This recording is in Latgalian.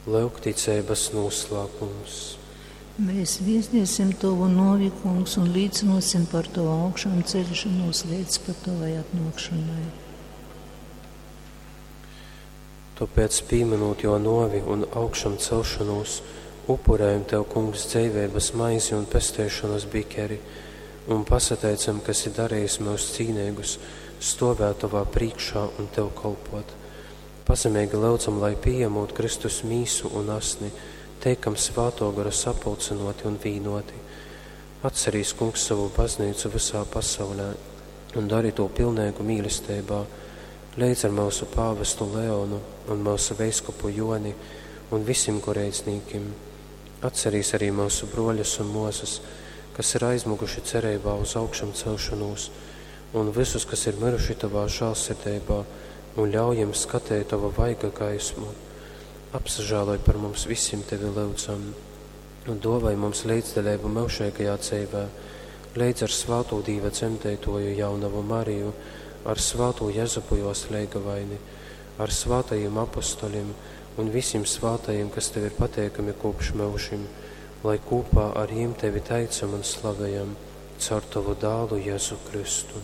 Lyuk ticeibas nūslāpums. Mēs viestiesim Tavu novi, Kungs, un līcinosim par Tavu augšām ceļšanos līdz pat Tavai atnākšanai. Tāpēc, pieminot jo novi un augšām celšanos, upurējam Tev, Kungs, dzīvības maizi un pestēšanas bikeri, un pasateicam, ka esi darījis mūs cīnīgus, stovēt Tavā priekšā un Tev kalpot. Pazemīgi lūdzam, lai pieņemot Kristus mīsu un asni, teikam svāto gara sapulcinoti un vīnoti. Atcerīs, Kungs, savu baznīcu visā pasaulē un dari to pilnīgu mīlestībā, līdz ar mūsu pāvestu Leonu un mūsu veiskupu Joni un visiem goreidznīkim. Atcerīs arī mūsu broļus un mūzes, kas ir aizmuguši cerībā uz augšām celšanos, un visus, kas ir miruši tavā žēlsirdībā, un ļauj jiem skatīt tavu vaiga gaismu. Apsažēloj par mums visiem tevi lūdzam, un dovai mums līdzdaļību mūžīgajā dzīvē, līdz ar svāto Dīva dzemdētoju jaunavu Mariju, ar svāto Jezupu jos leigavaini, ar svātajiem apostoļiem un visiem svātajiem, kas tev ir pateikami kopš mūžim, lai kopā ar jiem tevi teicam un slavējam caur tavu dālu Jēzu Kristu.